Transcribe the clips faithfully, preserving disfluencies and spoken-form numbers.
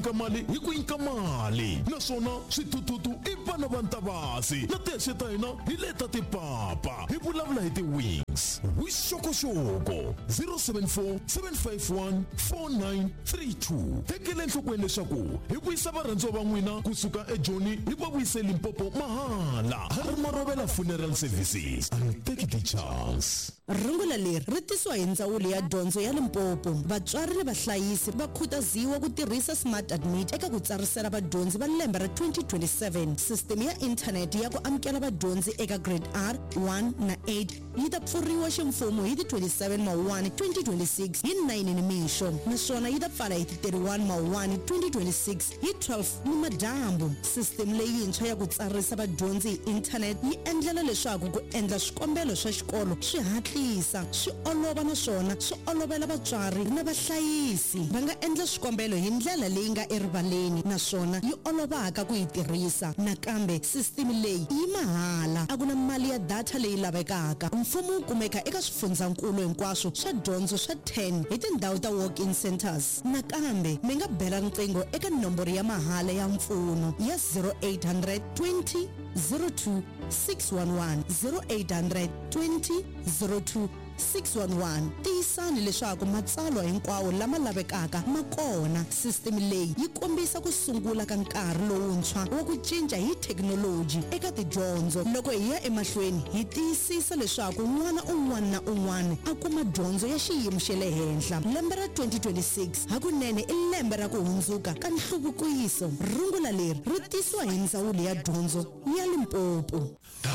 Ka mali hi ku nyika mali, naswona swithuthuthu i vana va ntavasi na tihexe ta hina hi leta tipapa. Hi vulavula hi ti-wings. Vuxokoxoko zero seven four, seven five one, four nine three two. Tekela enhlokweni leswaku hi vuyisa varhandziwa va n'wina kusuka eJoni hi va vuyise Limpopo mahala. Ha ri Marovela Funeral Services and take the chance. Rungula leri ri tisiwa hi Ndzawulo ya Dyondzo ya Limpopo. Vatswari ni vahlayisi va khutaziwa ku tirhisa Smart Admit eka ku tsarisela vadyondzi va lembe ra twenty twenty-seven. Sisiteme ya inthanete ya ku amukela vadyondzi eka Grade R one na eight yi ta pfuriwa ximfumo hi ti twenty-seven Mawuwani twenty twenty-six hi nine nimixo, naswona yi ta pfala hi ti thirty-one Mawuwani twenty twenty-six hi twelve nimadyambu. Sisiteme leyintshwa ya ku tsarisa vadyondzi hi inthanete yi endlela leswaku ku endla swikombelo swa xikolo swi hatlisa, swi olova, naswona swi olovela vatswari na vahlayisi. Va nga endla swikombelo hi ndlela leyi nga erivaleni naswona yi olovaka ku yi tirhisa. Nakambe sisiteme leyi yi mahala, a ku na mali ya data leyi lavekaka. Mfumo wu kumeka eka swifundzankulu hinkwaswo swa dyondzo swa ten hi tindhawu ta walk-in centers. Nakambe mi nga bela riqingho eka nomboro ya mahala ya mpfuno ya zero eight hundred twenty zero two six one one, zero eight hundred twenty zero two six one one. Tiyisani leswaku matsalwa hinkwawo lama lavekaka ma kona. Sisiteme leyi yi kombisa ku sungula ka nkarhi lowuntshwa wa ku cinca hi thekinoloji eka tidyondzo loko hi ya emahlweni hi tiyisisa leswaku n'wana un'wana na un'wana a kuma dyondzo ya xiyimo xa le henhla. Lembe ra twenty twenty-six hakunene i lembe ra ku hundzuka ka nhluvukiso. Rungula leri ri tisiwa hi Ndzawulo ya Dyondzo ya Limpopo. Ta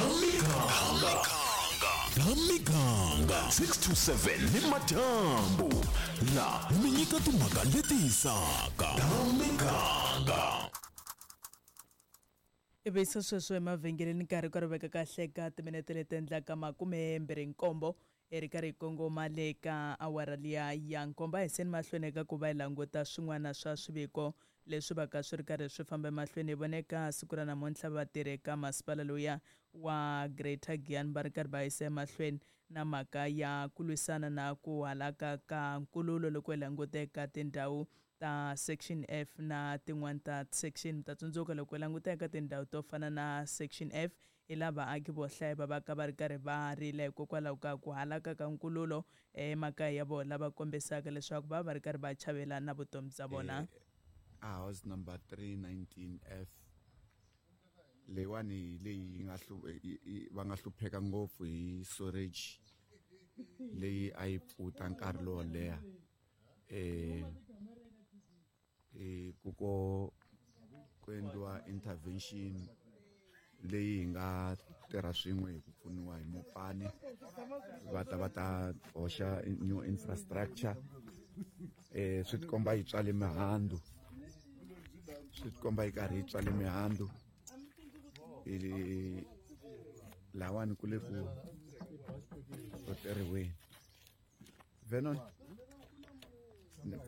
Miganga six to seven ni madyambu, la mi nyika timhaka leti hisaka ta miganga. Ivi se sweswo emavhengeleni nkarhi ka ri veka kahle ka timinete leti endlaka makume mbirhi nkombo, hi ri karhi hi kongoma le ka awara liya ya nkombo. A hi seni mahlweni eka ku va hi languta swin'wana swa swiviko leswi va ka swi ri karhi swi famba emahlweni. Hi vone ka siku ra namuntlha vatirhi eka masipala lowuya wa Greater Giyani va ri karhi va yisa emahlweni na mhaka ya ku lwisana na ku halaka ka nkululo loko hi languta eka tindhawu ta Section F na tin'wani ta section. Mi ta tsundzuka loko hi languta eka tindhawu to fana na Section F, hi laha vaaki vo hlaya va va ka va ri karhi va rila hikokwalaho ka ku halaka ka nkululo emakaya ya vona, lava kombisaka leswaku va va ri karhi va chavela na vutomi bya vona. A house number three nineteen F leyiwani hi leyi yi nga hlu yi- yi- va nga hlupheka ngopfu hi storage leyi a yi pfuta nkarhi lowo leha. eh eh ku ko ku endliwa intervention leyi hi nga tirha swin'we hi ku pfuniwa hi Mopani, va ta va ta hoxa new infrastructure. eh swi tikomba yi tswale mihandzu, swi tikomba yi karhi yi tswale mihandzu. I lawani ku le ku ku tirhiweni Venon. No.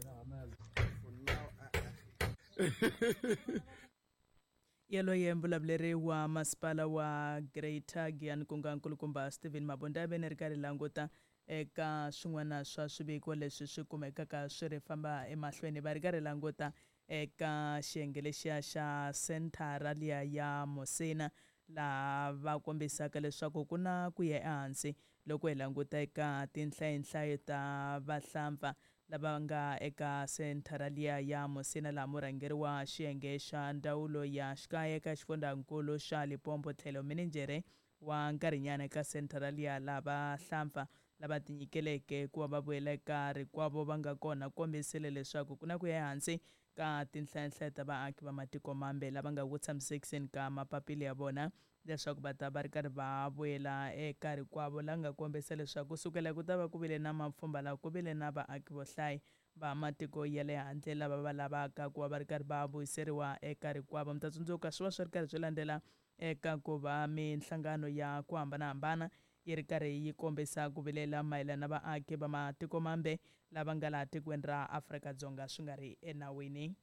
Yaloye mbulavuleri wa masipala wa Greater Giyani, ku nga nkulukumba Stephen Mabunda. Ve ni ri karhi languta eka swin'wana swa swiviko leswi swi kumekaka swi ri famba emahlweni. Va ri karhi languta eka xiyenge lexiya xa senthara liya ya Musina, laha va kombisaka leswaku ku na ku ya ehansi loko hi languta eka tinhlayinhlayo ta vahlampfa lava nga eka senthara liya ya Musina, laha murhangeri wa xiyenge xa ndzawulo ya xikaya eka xifundzankulu xa Limpopo tlhelo mininjhere wa nkarhinyana eka senthara liya, laha vahlampfa lava tinyikeleke ku va va vuyela eka rikwavo va nga kona, kombisile leswaku ku na ku ya ehansi ka tinhlayinhlayo ta vaaki va matiko mambe lava nga ku tshamisekiseni ka mapapila ya vona leswaku va ta va ri karhi va vuyela eka rikwavo, la nga kombisa leswaku kusukela ku ta va ku vile na mapfhumba laha ku vile na vaaki vo hlaya va matiko ya le handle lava va lavaka ku va va ri karhi va vuyiseriwa eka rikwavo. Mi ta tsundzuka swi va swi ri karhi swi landzela eka ku va minhlangano ya ku hambanahambana yi ri karhi yi kombisa ku vilela mayelana na vaaki va matiko mambe lava nga laha tikweni ra Afrika-Dzonga swi nga ri enawini.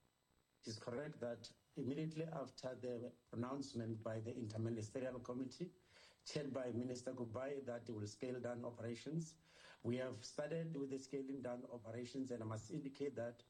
It is correct that immediately after the pronouncement by the Interministerial Committee, chaired by Minister Kubayi, that will scale down operations, we have started with the scaling down operations, and I must indicate that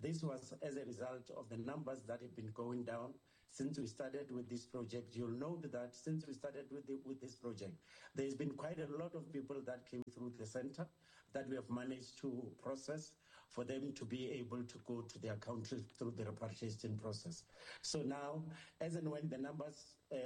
This was as a result of the numbers that have been going down since we started with this project. You'll note that since we started with, the, with this project, there's been quite a lot of people that came through the center that we have managed to process for them to be able to go to their country through the repatriation process. So now, as and when the numbers uh,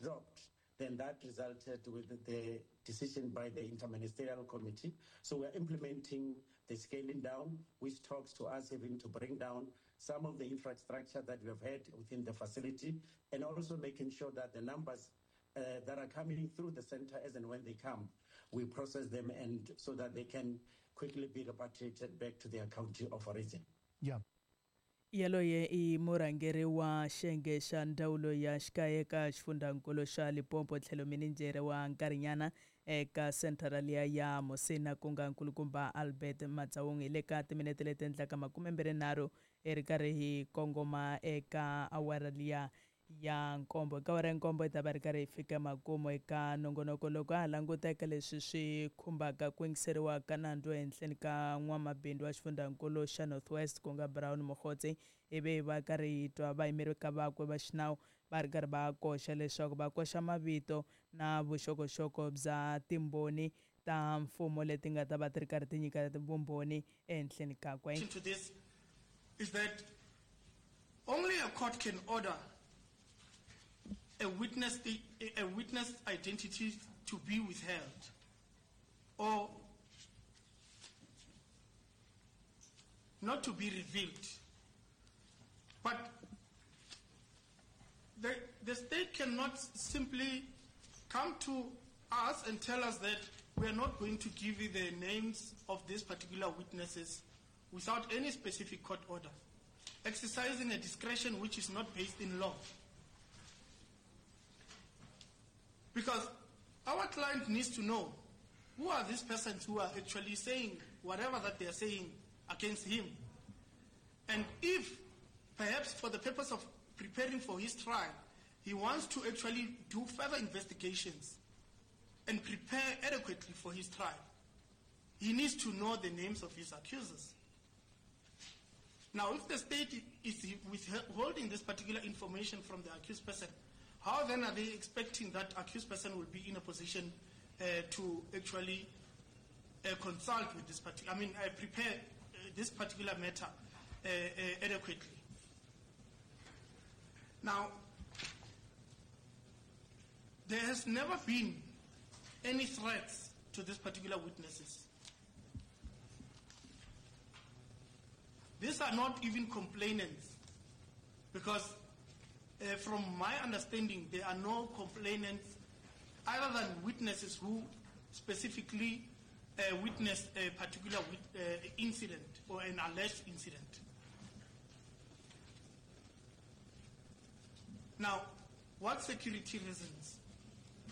dropped, then that resulted with the decision by the Interministerial Committee. So we're implementing the scaling down, which talks to us having to bring down some of the infrastructure that we have had within the facility, and also making sure that the numbers uh, that are coming through the center as and when they come, we process them and so that they can quickly be repatriated back to their country of origin. Yeah. Yaloye i murhangeri wa xiyenge xa ndzawulo ya xikaya eka xifundzankulu xa Limpopo tlhelo mininjhere wa nkarhinyana eka senthara liya ya Musina ku nga nkulukumba Albert Matsaung. Hi le ka timinete leti endlaka makumembirhi hi ri karhi hi kongoma eka awara liya ya nkombo. Eka awara ya nkombo hi ta va ri karhi hi fika makumu eka nongonoko loko ha languta eka leswi swi khumbaka ku yingiseriwa ka nandzu ehenhleni ka n'wamabindzu wa xifundzankulu xa North West ku nga Brown Mogotsi, ivi va karhi hi twa vayimeri ka vakwe va xinawu va ri karhi va koxa leswaku va koxa mavito na vuxokoxoko bya timbhoni ta mfumo leti nga ta va ti ri karhi ti nyika vumbhoni ehenhleni kakwe. To this is that only a court can order a witness, a witness identity to be withheld or not to be revealed. But the, the state cannot simply come to us and tell us that we are not going to give you the names of these particular witnesses without any specific court order, exercising a discretion which is not based in law. Because our client needs to know who are these persons who are actually saying whatever that they are saying against him. And if, perhaps for the purpose of preparing for his trial, he wants to actually do further investigations and prepare adequately for his trial, he needs to know the names of his accusers. Now, if the state is withholding this particular information from the accused person, how then are they expecting that accused person will be in a position uh, to actually uh, consult with this particular, I mean, uh, prepare uh, this particular matter uh, uh, adequately? Now, there has never been any threats to these particular witnesses. These are not even complainants, because Uh, from my understanding, there are no complainants other than witnesses who specifically uh, witnessed a particular wit- uh, incident or an alleged incident. Now, what security reasons?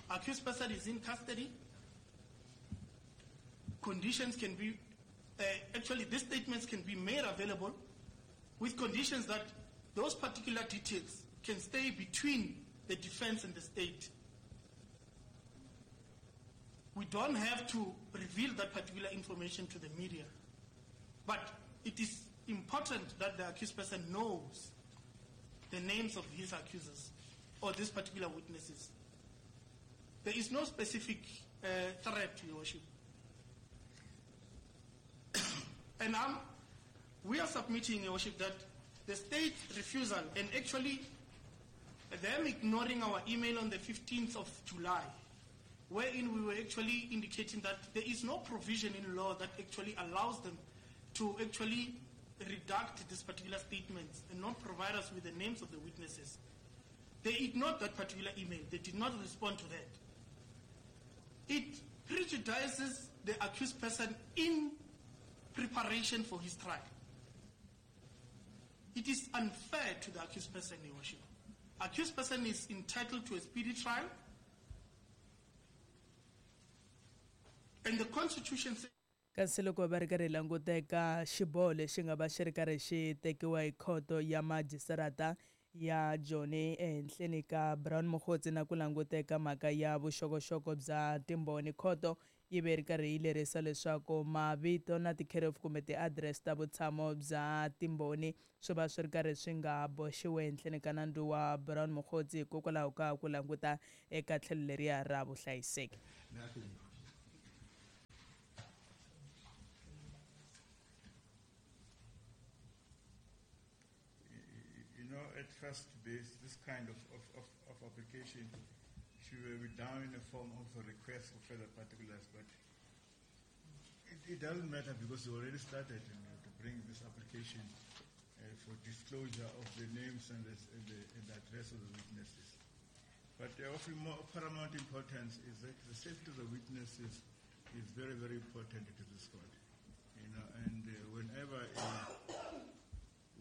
Accused person is in custody. Conditions can be, uh, actually these statements can be made available with conditions that those particular details can stay between the defense and the state. We don't have to reveal that particular information to the media. But it is important that the accused person knows the names of his accusers or these particular witnesses. There is no specific uh, threat, Your Worship. And I'm, we are submitting, Your Worship, that the state refusal and actually them ignoring our email on the fifteenth of July, wherein we were actually indicating that there is no provision in law that actually allows them to actually redact these particular statements and not provide us with the names of the witnesses. They ignored that particular email. They did not respond to that. It prejudices the accused person in preparation for his trial. It is unfair to the accused person, Your Worship. Accused person is entitled to a speedy trial. And the Constitution says kasi loko va ri karhi languta eka xiboho lexi nga va xi ri karhi xi tekiwa hi khoto ya majistarata ya Joni ehenhleni ka Brown Mogotsi na ku languta eka mhaka ya vuxokoxoko bya timbhoni, khoto yi ve ri karhi yi lerisa leswaku mavito na ti-care of kumbe ti-address ta vutshamo bya timbhoni swi va swi ri karhi swi nga boxiwi ehenhleni ka nandzu wa Brown Mogotsi hikokwalaho ka ku languta eka tlhelo leriya ra vuhlayiseki. You know, at first this, this kind of, of, of, of application should be down in the form of a request for further particulars, but it, it doesn't matter because you already started, you know, to bring this application uh, for disclosure of the names and the, and the, and the address of the witnesses. But uh, of more paramount importance is that the safety of the witnesses is very, very important to this court. You know, and uh, whenever uh,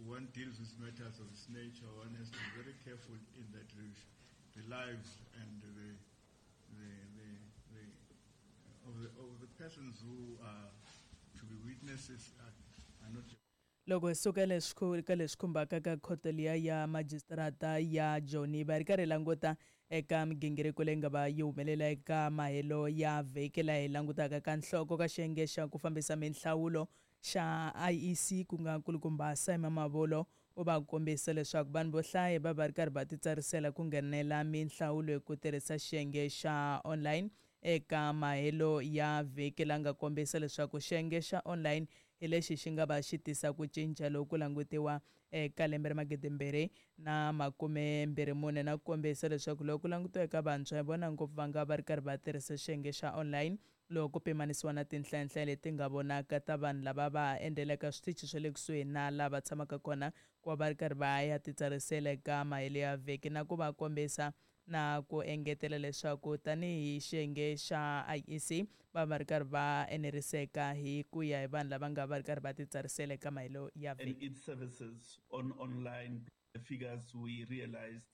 one deals with matters of this nature, one has to be very careful in that the lives and the, the, the, the, of, the, of the persons who are to be witnesses are, are not. Loko hi suka leswi ka leswi khumbaka ka khoto liya ya majistrata ya Joni va ri karhi languta eka migingiriko leyi nga va yi humelela eka mahelo ya vhiki laha hi langutaka ka nhloko ka xiyenge xa ku fambisa minhlawulo xa I E C ku nga nkulukumba Simon Mabolo u va kombisa leswaku vanhu vo hlaya va va ri karhi va titsarisela ku nghenela minhlawulo hi ku tirhisa xiyenge xa online eka mahelo ya vhiki la nga kombisa leswaku xiyenge xa online hi lexi xi nga va xi tisa ku cinca loku langutiwa eka lembe ra magidi mbirhi na makume mbirhi mune na ku kombisa leswaku loko ku langutiwa eka vantshwa hi vona ngopfu va nga va ri karhi va tirhisa xiyenge xa online loko ku pimanisiwa na tinhlayanhlaya leti nga vonaka ta vanhu lava va endlelaka switichi swa le kusuhi na lava tshamaka kona ku va va ri karhi va ya titsarisela eka mahelo ya vhiki na ku va kombisa na ku engetela leswaku tanihi xiyenge xa I E C va va ri karhi va eneriseka hi ku ya hi vanhu lava nga va ri karhi va titsarisela eka mahelo ya vhiki. And its services on online figures we realized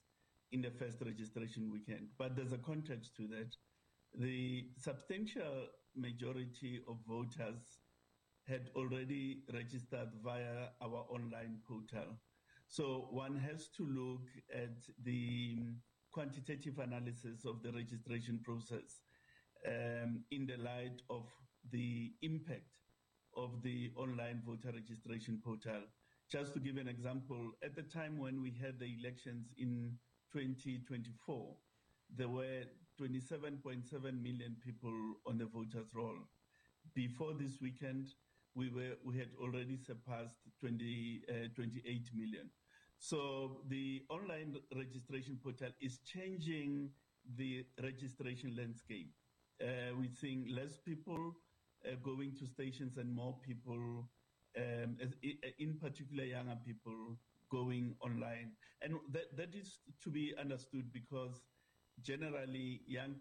in the first registration weekend. But there's a context to that. The substantial majority of voters had already registered via our online portal. So one has to look at the quantitative analysis of the registration process um, in the light of the impact of the online voter registration portal. Just to give an example, at the time when we had the elections in twenty twenty-four, there were twenty-seven point seven million people on the voters' roll. Before this weekend, we were we had already surpassed twenty, uh, twenty-eight million. So the online registration portal is changing the registration landscape. Uh, we're seeing less people uh, going to stations and more people, um, in particular younger people, going online. And that, that is to be understood because generally young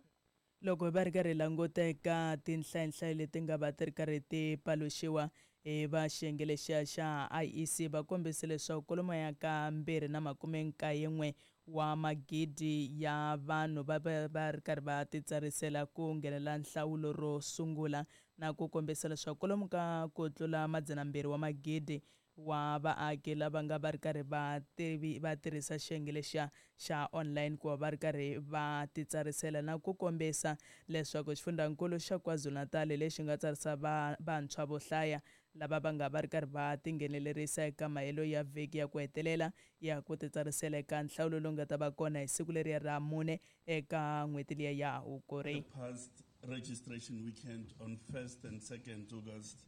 loko va ri karhi languta eka tinhlayanhlayo leti nga va ti ri karhi ti paluxiwa hi va xiyenge lexiya xa I E C va kombise leswaku kwalomu ya ka mbirhi na makume nkaye n'we wa magidi ya vanhu va va va ri karhi va titsarisela ku nghenela nhlawulo ro sungula na ku kombisa leswaku kwalomu ka ku tlula madzana mbirhi wa magidi wa vaaki lava nga va ri karhi va tivi va tirhisa xiyenge lexiya xa online ku va va ri karhi va titsarisela na ku kombisa leswaku xifundzankulu xa KwaZulu-Natal lexi nga tsarisa va vantshwa vo hlaya lava va nga va ri karhi va tinghenelerisa eka mahelo ya vhiki ya ku hetelela ya ku titsarisela eka nhlawulo lowu nga ta va kona hi siku leriya ra mune eka n'hweti liya ya Hukuri. The past registration weekend on first and second August,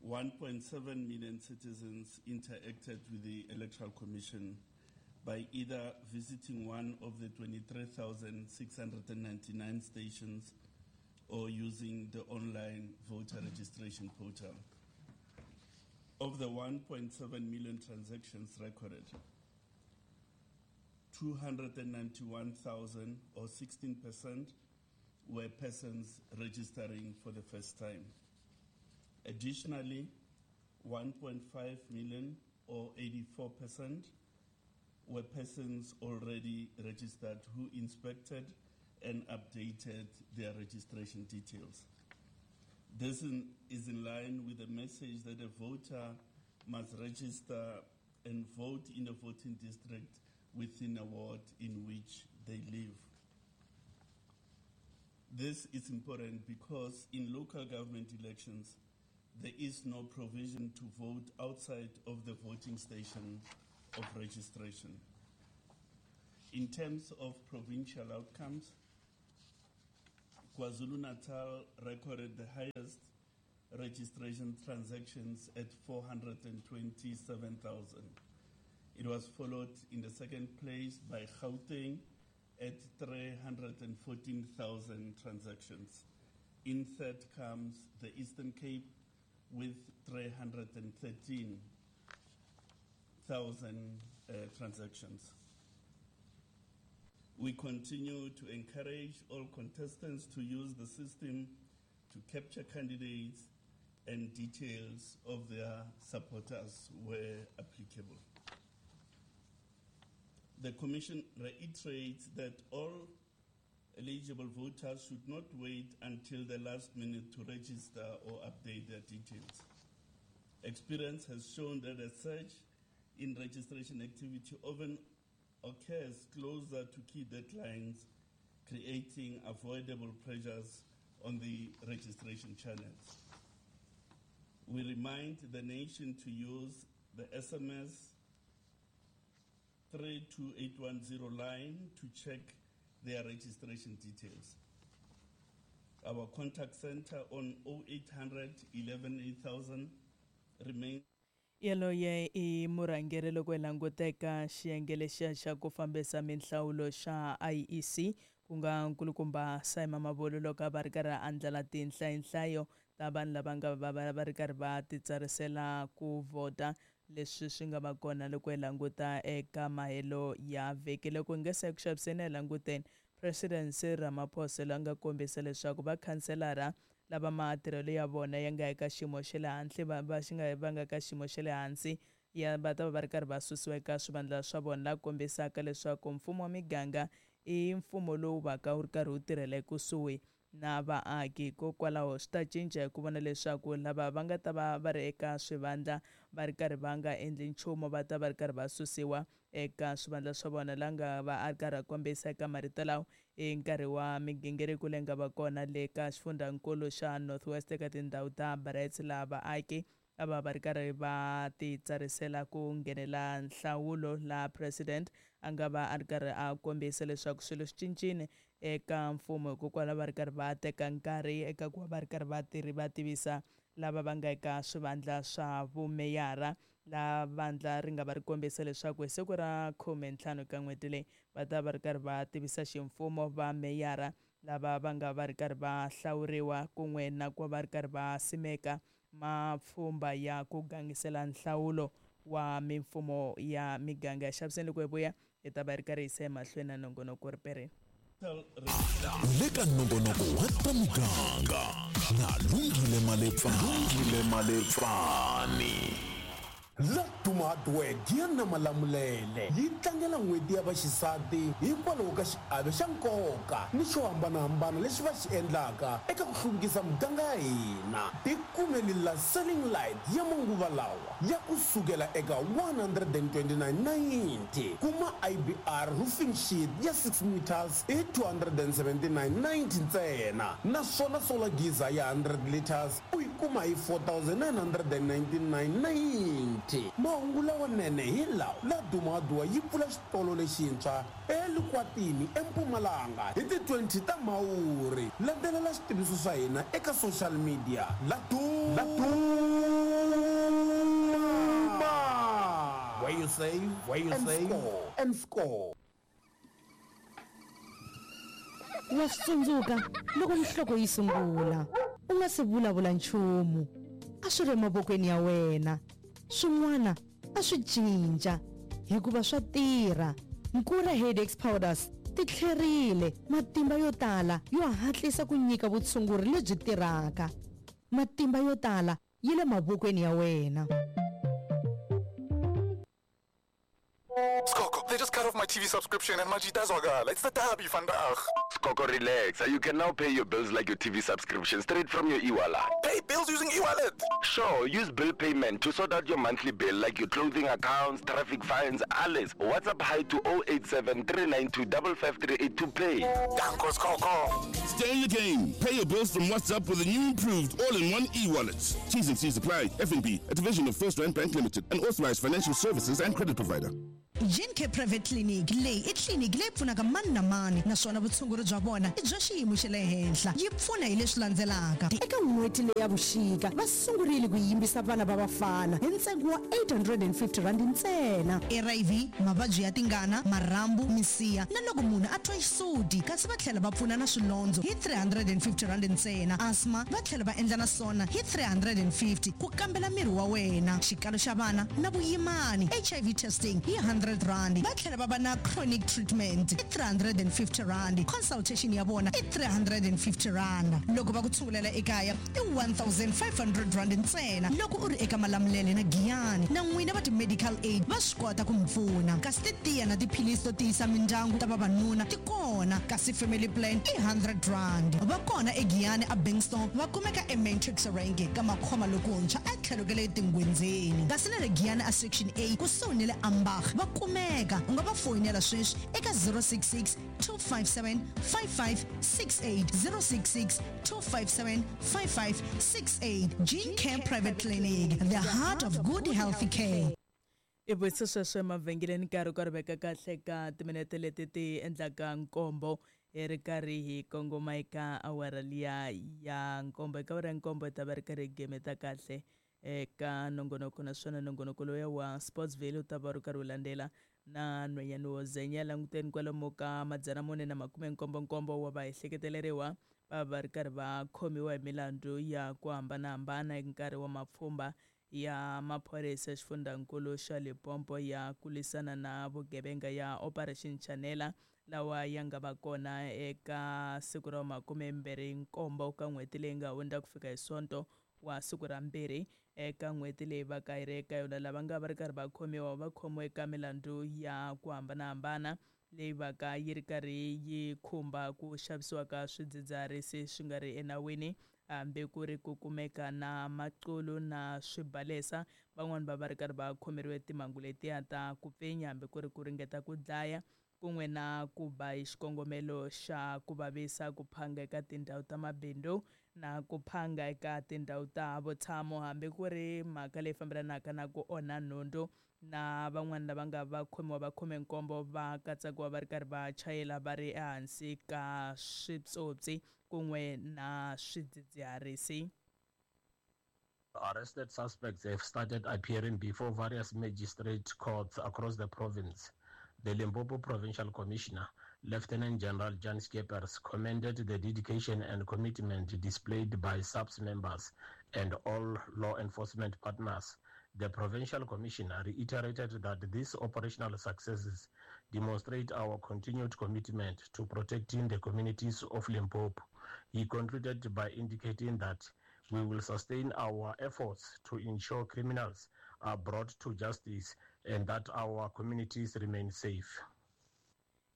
one point seven million citizens interacted with the Electoral Commission by either visiting one of the twenty-three thousand six hundred ninety-nine stations or using the online voter registration portal. Of the one point seven million transactions recorded, two hundred ninety-one thousand or sixteen percent were persons registering for the first time. Additionally, one point five million or eighty-four percent were persons already registered who inspected and updated their registration details. This in, is in line with the message that a voter must register and vote in a voting district within a ward in which they live. This is important because in local government elections, there is no provision to vote outside of the voting station of registration. In terms of provincial outcomes, KwaZulu-Natal recorded the highest registration transactions at four hundred twenty-seven thousand. It was followed in the second place by Gauteng at three hundred fourteen thousand transactions. In third comes the Eastern Cape with three hundred thirteen thousand uh, transactions. We continue to encourage all contestants to use the system to capture candidates and details of their supporters where applicable. The Commission reiterates that all eligible voters should not wait until the last minute to register or update their details. Experience has shown that a surge in registration activity often occurs closer to key deadlines, creating avoidable pressures on the registration channels. We remind the nation to use the S M S three two eight one zero line to check their registration details. Our contact center on oh eight hundred eleven eight thousand remains. Yaloye i murhangeri loko hi languteka xiyenge lexiya xa ku fambisa minhlawulo xa I E C ku nga nkulukumba Simon Mabolo loko a va ri karhi a andlala tinhlayinhlayo ta vanhu lava nga va va ri karhi va titsarisela ku vhota leswi swi nga va kona loko hi languta eka mahelo ya vhiki. Loko hi nge se ku xaviseni hi languteni President Cyril Ramaphosa la nga kombisa leswaku vakhanselara lava matirhelo ya vona ya nga eka xiyimo xa le hansi va va xi nga va nga ka xiyimo xa le hansi ya va ta va va ri karhi va susiwa eka swivandla swa vona, la kombisaka leswaku mfumo wa miganga i mfumo lowu va ka wu ri karhi wu tirhela ekusuhi na vaaki. Hikokwalaho swi ta cinca hi ku vona leswaku lava va nga ta va va ri eka swivandla va ri karhi va nga endli nchumu va ta va ri karhi va susiwa eka swivandla swa vona. La nga va a ri karhi a kombisa eka marito lawa i nkarhi wa migingiriko leyi nga va kona le ka xifundzankulu xa North West eka tindhawu ta Brits, laha vaaki a va va ri karhi va titsarisela ku nghenela nhlawulo, laha president a nga va a ri karhi a kombisa leswaku swilo swi cincile eka mfumo hikokwalaho va ri karhi va teka nkarhi eka ku va va ri karhi va tirhi va tivisa lava va nga eka swivandla swa vumeyara. La vandla ri nga va ri kombisa leswaku hi siku ra khumentlhanu ka n'hweti leyi va ta va ri karhi va tivisa ximfumo va meyara lava va nga va ri karhi va hlawuriwa kun'we na ku va ri karhi va simeka mapfhumba ya ku gangisela nhlawulo wa mimfumo ya miganga. Ya xaviseni loko hi vuya hi ta va ri karhi hi yisa emahlweni na nongonoko ripereni. Le ka nongonoko wa ta miganga na Lungile Malepfani. Lungile Malepfani. Laduma Hardware Gianna Malamulele yi tlangela n'hweti ya vaxisati hikwalaho ka xiave xa nkoka ni xo hambanahambana lexi va xi endlaka eka ku hluvukisa muganga ya hina. Tikumeli la selling light ya manguva lawa ya kusukela eka one hundred twenty-nine ninety, kuma I B R roofing sheet ya six meters hi two hundred seventy-nine ninety ntsena, naswona solar geyser ya hundred liters u yi kuma hi four thousand nine hundred ninety-nine ninety. Mahungu lawanene hi lawa Laduma Hardware yi pfula xitolo lexintshwa eLukwatini eMpumalanga hi ti twenty ta Mhawuri. Landzelela xitiviso swa hina eka social media Laduma where you save, where you save score and score. Wa swi tsundzuka loko nhloko yi sungula u nga se vulavula nchumu, a swi ri emavokweni ya wena. Swin'wana a swi cinca hikuva swa tirha. Nkura Headaches Powders ti tlherile matimba yo tala yo hatlisa ku nyika vutshunguri lebyi tirhaka. Matimba yo tala yi le mavokweni ya wena. Skoko, they just cut off my T V subscription and Majita Zwagala. It's the derby, vandaag. Skoko, relax. You can now pay your bills like your T V subscription straight from your e-wallet. Pay bills using e-wallet? Sure, use bill payment to sort out your monthly bill like your clothing accounts, traffic fines, alles. WhatsApp hi to oh eight seven, three nine two, five five three eight to pay. Danko, Skoko. Stay in the game. Pay your bills from WhatsApp with a new improved all-in-one e-wallet. T's and C's apply. F N B, a division of First Rand Bank Limited, an authorized financial services and credit provider. Gencare Private Clinic leyi i tliliniki leyi pfunaka mani na mani naswona vutshunguri bya vona i bya xiyimo xa le henhla. Yi pfuna hi leswi landzelaka. Eka n'hweti leyi ya vuxika va sungurile ku yimbisa vana va vafana hi ntsengo wa eight hundred and fifty rand ntsena. R I V, mavabyi ya tingana, marhambu, misiha na loko munhu a twa xisuti, kasi va tlhela va pfuna na swilondzo hi three hundred and fifty rand ntsena. Asthma va tlhela va endla na swona hi three hundred and fifty ku kambela miri wa wena. Xikalo xa vana na vuyimani, H I V testing hi hundred rand. Va tlhela va va na chronic treatment i three hundred and fifty rand. Consultation ya vona i three hundred and fifty rand. Loko va ku tshungulela ekaya i one thousand five hundred rand ntsena. Loko u ri eka Malamulele na Giyani na n'wina va ti-medical aid va swi kota ku mi pfuna. Kasi titiya na tiphilisi to tiyisa mindyangu ta vavanuna ti kona, kasi family plan i hundred rand. Va kona eGiyani a Bankston, va kumeka eMatrix Range ka Makhoma lokuntshwa a tlhelo ka le Tingwenzeni. Kasi na le Giyani a Section A kusuhi ni le Ambach va kumeka. U nga va foyinela sweswi eka zero six six, two five seven, five five six eight, zero six six, two five seven, five five six eight. Gencare Private Clinic, the heart of good healthy care. I vuyisa sweswo emavhengeleni nkarhi ku ri veka kahle ka timinete leti ti endlaka nkombo hi ri karhi hi kongoma eka awara liya ya nkombo. Eka awara ya nkombo hi ta va ri karhi hi gemeta kahle eka nongonoko, naswona nongonoko lowuya wa Sportsville wu ta va ri karhi wu landzela na nhwanyana wo zenya. Languteni kwalomu ka madzana mune na makume nkombo nkombo wa vaehleketeleriwa va va ri karhi va khomiwa hi milandzu ya ku hambanahambana hi nkarhi wa mapfhumba ya maphorisa xifundzankulu xa Limpopo ya ku lwisana na vugevenga ya Operation Chanela, lawa ya nga va kona eka siku ra makume mbirhi nkombo ka n'hweti leyi nga hundza ku fika hi Sonto wa siku ra mbirhi eka n'hweti leyi va ka yi ri eka yona. Lava nga va ri karhi va khomiwa va khomiwe eka milandzu ya ku hambanahambana leyi va ka yi ri karhi yi khumba ku xavisiwa ka swidzidziharisi swi nga ri enawini, hambi ku ri ku kumeka na maqulu na swibalesa. Van'wani va va ri karhi va khomeriwe timhangu letiya ta ku pfinya, hambi ku ri ku ringeta ku dlaya, kun'we na ku ba hi xikongomelo xa ku vavisa, ku phanga eka tindhawu ta mabindzu na ku phanga eka tindhawu ta vutshamo, hambi ku ri mhaka leyi fambelanaka na ku onha nhundzu. Na van'wani lava nga va khomiwa va khome nkombo va katsakiwa va ri karhi va chayela va ri ehansi ka switsotsi kun'we na swidzidziharisi. Arrested suspects have started appearing before various magistrate courts across the province. The Limpopo Provincial Commissioner, Lieutenant General Jan Skeepers, commended the dedication and commitment displayed by S A P S members and all law enforcement partners. The Provincial Commissioner reiterated that these operational successes demonstrate our continued commitment to protecting the communities of Limpopo. He concluded by indicating that we will sustain our efforts to ensure criminals are brought to justice and that our communities remain safe.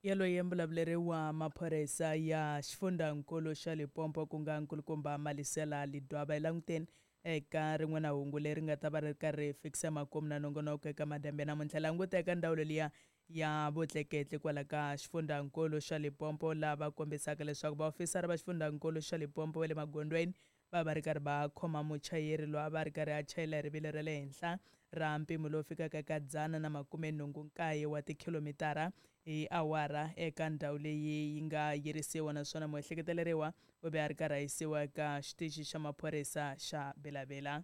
Yaloye mbulavuleri wa maphorisa ya xifundzankulu xa Limpopo ku nga nkulukumba Malisela Lidwaba. Languteni eka rin'wana hungu leri nga ta va ri karhi fikisa makumu na nongonoko eka madyambe namuntlha. Languta eka ndzawulo liya ya vutleketli kwala ka xifundzankulu xa Limpopo, lava kombisaka leswaku vaofisara va xifundzankulu xa Limpopo va le magondzweni va va ri karhi va khoma muchayeri loyi a va ri karhi a chayela hi rivilo ra le henhla ra mpimo lowu fikaka eka dzana na makume nhungu nkaye wa tikhilomitara hi awara eka ndhawu leyi yi nga yirisiwa, naswona muehleketeleriwa u ve a ri karhi a yisiwa eka xitichi xa maphorisa xa Belavela.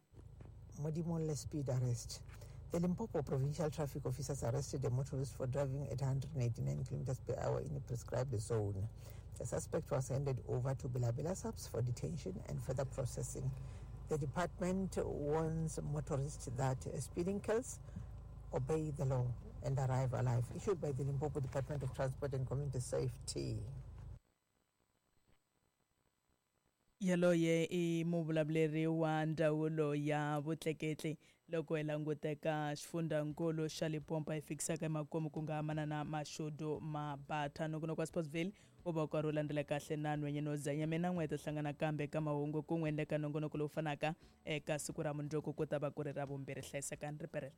Modimolle speed arrest. The Limpopo Provincial Traffic Officers arrested a motorist for driving at one hundred eighty-nine kilometers per hour in a prescribed zone. The suspect was handed over to Belabela S A P S for detention and further processing. The department warns motorists that speeding kills, obey the law and arrive alive. Issued by the Limpopo Department of Transport and Community Safety. Yaloye i muvulavuleri wa ndzawulo ya vutleketli loko hi languteka xifundzankulu xa Limpopo hi fikisaka emakumu ku nga manana Mashudu Mabatha. Nongonoko wa Sportsville wu va wu karhi wu landzela kahle na nhwenyeni wo zanya. Mina n'we hi ta hlangana kambe ka mahungu kun'we ni le ka nongonoko lowu fanaka eka siku ra mundzuku ku ta va ku ri ra vumbirhi. Hlayisekani riperela.